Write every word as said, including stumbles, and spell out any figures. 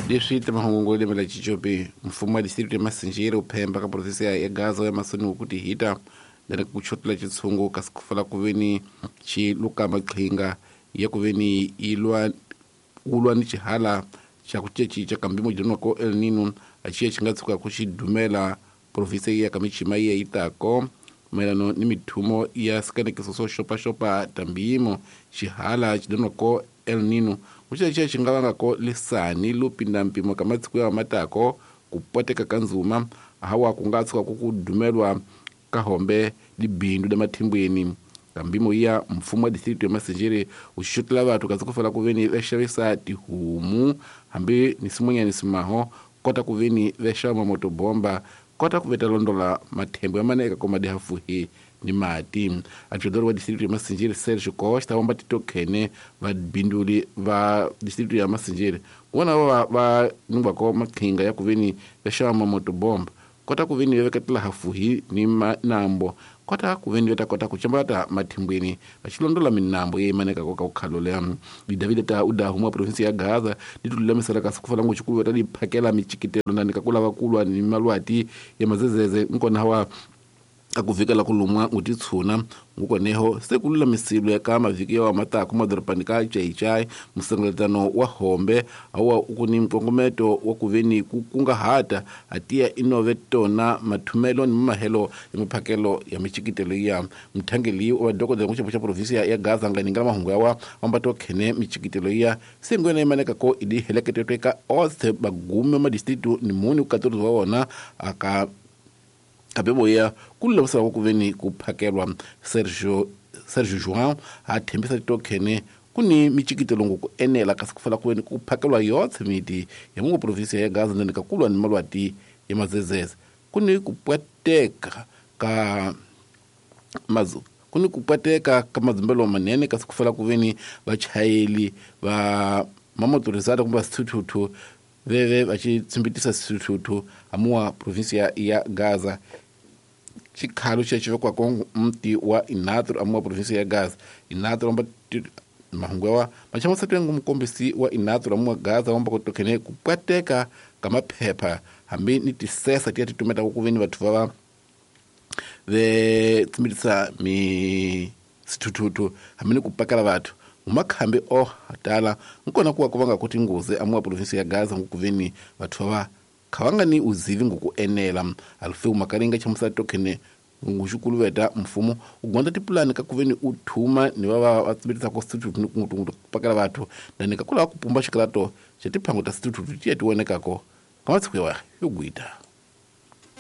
Leswi timahungu lembe la Chichopi mfumo wa district ya Masinjere uphemba ka province ya Gaza ya masoni kuti hita ndani kuchotela chitsungu kasi kufala kuveni chiluka maqhinga ya kuveni ilwa ulwa ni chihala cha kuchechi cha kambimo jidonwa ko El Nino achiya chingatsuka kuchidumela province ya kamichima ya itako maelano ni mithumo ya sikanekiso so xopaxopa tambiyimo xihala xidonwa ko El Nino kuxexe xi nga vangako lisani lo pinda mpimo ka matsiko ya matako ku poteka ka nzuma hawa ku nga tshuka ku ku dumelwa ka hombe libindu la mathimbweni kambimo ya mfumo wa district ya Masinjere u xotela vathu kasi ku fela ku veni va xavisa tihomu hambi ni simunyani simaho kota ku veni va xava motobomba kota ku veta londola mathembo ya maneka koma dihafuhi ni mati adjudor wa district ya Masinjere Sergio Costa wamba titokhene va binduli va district ya Masinjere vona va va ningwa ko maqhinga ya ku veni va xava motobomba kota ku veni va veketela hafuhi ni manambo kota ku veni va kota ku chambata mathimbweni va xilondola minambo ye maneka ko ka ku khalola di David ta uda huma province ya Gaza di tulamisela kasi ku fana ngo xikulu ta di phakela michikitelo na ka kulava kulwa ni malwati ya mazezeze nkona wa akuvikela kulumwa utitshuna ngukoneho se kululamisilo ka mavhiki ya matako madorobani ka Chaichai musengeletano wa hombe awa ukuni mkongometo wa kuveni kukungahata atiya inove tona mathumelo ni mahelo ya miphakelo ya michikitelo ya mthangeli wa dokodela kuxepo xa province ya Gaza nga ninga mahungu yawa ambato khene michikitelo ya sengwena imaneka ko idi heleketetwe ka othe bagume ma district ni muni ku wa wona aka kabeboya kululamisela ku veni ku phakelwa Sergio Sergio João a thembisa titokhene kuni michikitelo ku enela kasi ku fela ku veni ku phakelwa yothe miti ya mungu province ya Gaza ndani ka kulwa ni malwati ya mazezeze kuni ku pwateka ka mazu kuni ku pwateka ka madzimbelo manene kasi ku fela ku veni vachayeli va mamotorizada kumbe swithuthuthu veve va xi tsimbitisa swithuthuthu amuwa province ya, ya Gaza xikhalo xexo vekwako mti wa Inatro amuwa province ya Gaza Inatro amba mahungu yawa machamasatwe ngu mukombisi wa Inatro amuwa Gaza wamba kutokhene kupwateka ka maphepha hambi ni tisesa tiya titumeta kuveni vathu vava ve tsimbitisa mi swithuthuthu hambi ni kupakela vathu umakhambi o tala nkona kuwa kuvanga kuti ngozi amuwa province ya Gaza ngukuveni vathu va khavanga ni uzivi ngukuenela alfe umakaringa chamusa tokhene nguxukuluveta mfumo ugonda tipulani ka kuveni uthuma ni va va tsimbitisa ko swithuthuthu ni kungutungutu kupakela vathu ndani ka kula kupumba xikalato xa tiphango ta swithuthuthu tiya tionekako ka matsiko ya yo gwita.